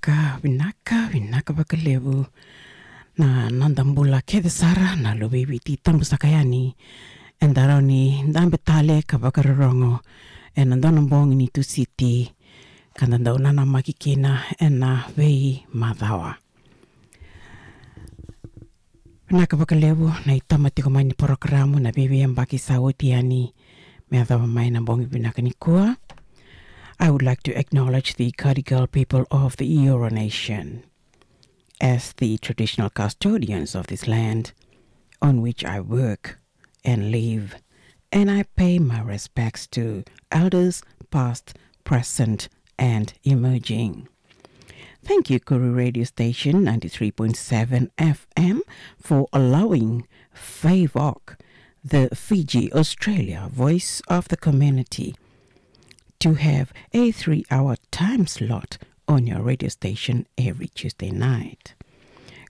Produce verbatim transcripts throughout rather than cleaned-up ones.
Vinaka, vinaka, vinaka vakalevu na noda bula kece sara na luve i Viti tabu saka yani. Eda rawa ni dabe tale ka vakarorogo ena dua na bogi ni Tusiti ka da dau nanamaki kina ena veimacawa. Vinaka vakalevu na itoma tiko mai ni porokaramu na veiveiyabaki sa oti yani me yacova mai na bogi vinaka nikua. I would like to acknowledge the Gadigal people of the Eora Nation as the traditional custodians of this land on which I work and live, and I pay my respects to elders past, present, and emerging. Thank you, Koori Radio Station ninety-three point seven F M, for allowing FAVOC, the Fiji Australia Voice of the Community, to have a three-hour time slot on your radio station every Tuesday night.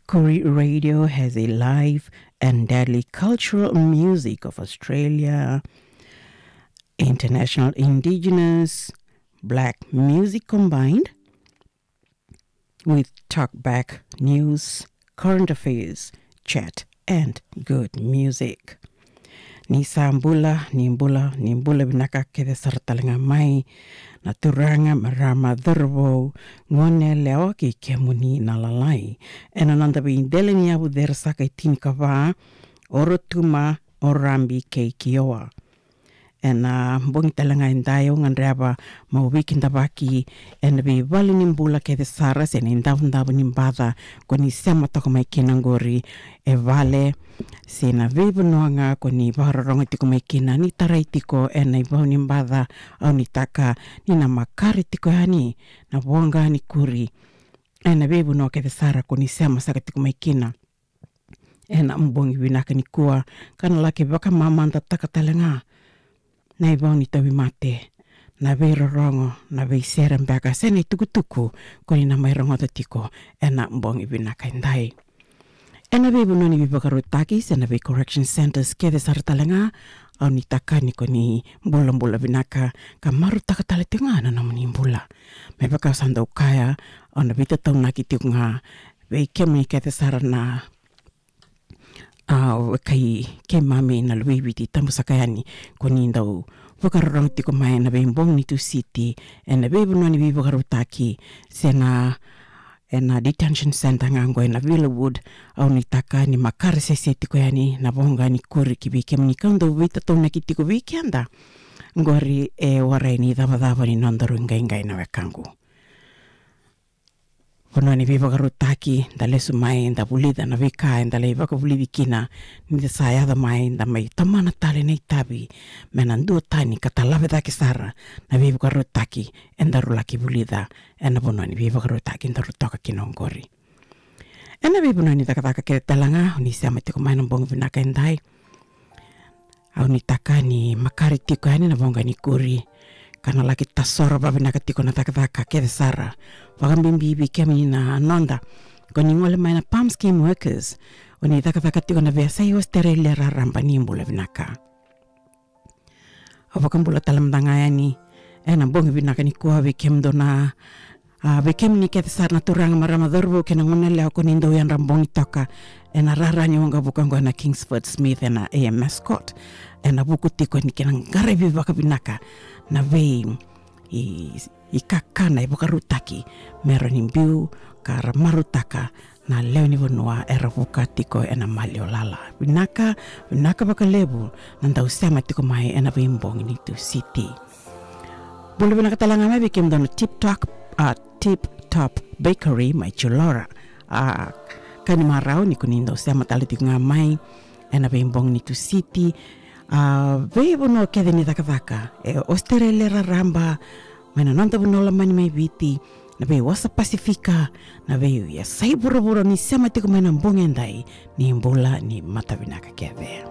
Koori Radio has a live and deadly cultural music of Australia, international indigenous, black music combined with talkback news, current affairs, chat, and good music. Ni sa bula, ni bula, ni bula vinaka kece sara tale ga mai na turaga, marama, cauravou, goneyalewa kei kemuni na lalai ena noda veidela ni yavu cere saka e tinikava, o Rotuma, o Rabi kei Kioa. Ena bogi tale ga edai au gadreva meu veikidavaki ena veivale ni bula kece sara se na idavodavo ni baca ko ni sema toka mai kina qori e vale se na veivanua ga ko ni vakarorogo tiko mai kina, ni tarai tiko ena ivau ni baca. Au nuitaka ni na makare tiko yani na voqa ni kuri ena veivanua kece sara ko ni sema saka tiko mai kina ena bogi vinaka nikua, ka na laki vakamamadataka tale ga na ivau ni tauvimate, na veirorogo, na veisere beka se na itukutuku ko ni na mai rogoca tiko ena bogi vinaka edai. Ena veivanua ni veivakarautaki se na vei correction centres kece sara tale ga, au nuitaka ni ko ni bulabula vinaka ka marautaka tale tiko ga na nomuni bula. Me vaka au sa dau kaya, au na veitataunaki tiko ga vei kemuni kece sara na, a, vaka i keimami na luve i Viti tabu saka yani ko ni dau vakarorogo tiko mai ena veibogi ni Tusiti ena veivanua ni veivakarautaki se na ena detention centre ga qo ena Villawood. Au nuitaka ni makare sese tiko yani na voqa ni kuri ki vei kemuni ka dau veitataunaki tiko vei keda qori e warai ni cavacava ni nodaru iqaiqai na wekaqu. Vanua ni veivakarautaki, da lesu mai, da vulica na veika eda lai vakavulici kina, ni da sa yaco mai, da mai tomana tale na itavi me na duatani ka talave cake sara na veivakarautaki edaru laki vulica ena vanua ni veivakarautaki daru toka kina oqori. Ena veivanua ni cakacaka kece tale ga o ni sema tiko mai na bogi vinaka edai, au nuitaka ni makare tiko yani na voqa ni kuri ka na laki tasoro vavinaka tiko na cakacaka kece sara, vakabibi vei kemuni na noda ko ni gole mai na PALM scheme workers, o ni cakacaka tiko na veiyasai Ositerelia raraba, ni bula vinaka. Au vakabula tale mada ga yani ena bogi vinaka nikua vei kemudou na, a, vei kemuni kece sara na turaga, marama, cauravou kei na goneyalewa ko ni dau yadra bogi toka ena rara ni waqavuka qo ena Kingsford Smith ena A M S Court, ena vuku tiko ni kena qaravi vakavinaka na vei i, i kakana e vakarautaki me ra ni biu ka ra marautaka na lewe ni vanua era vuka tiko ena maliwa lala. Vinaka, vinaka vakalevu na dau sema tiko mai ena veibogi ni Tusiti. Bula vinaka tale ga mai vei kemudou na Tip Top, a, Tip Top Bakery mai Chullora. A, ka ni marau ni ko ni dau sema tale tiko ga mai ena veibogi ni Tusiti. A, veivanua kece ni cakacaka e Ositerelia raraba, mai na noda vanua lomani mai Viti, na veiwasa Pasifika, na veiyasai vuravura, ni sema tiko mai na bogi edai, ni bula, ni mata vinaka kece.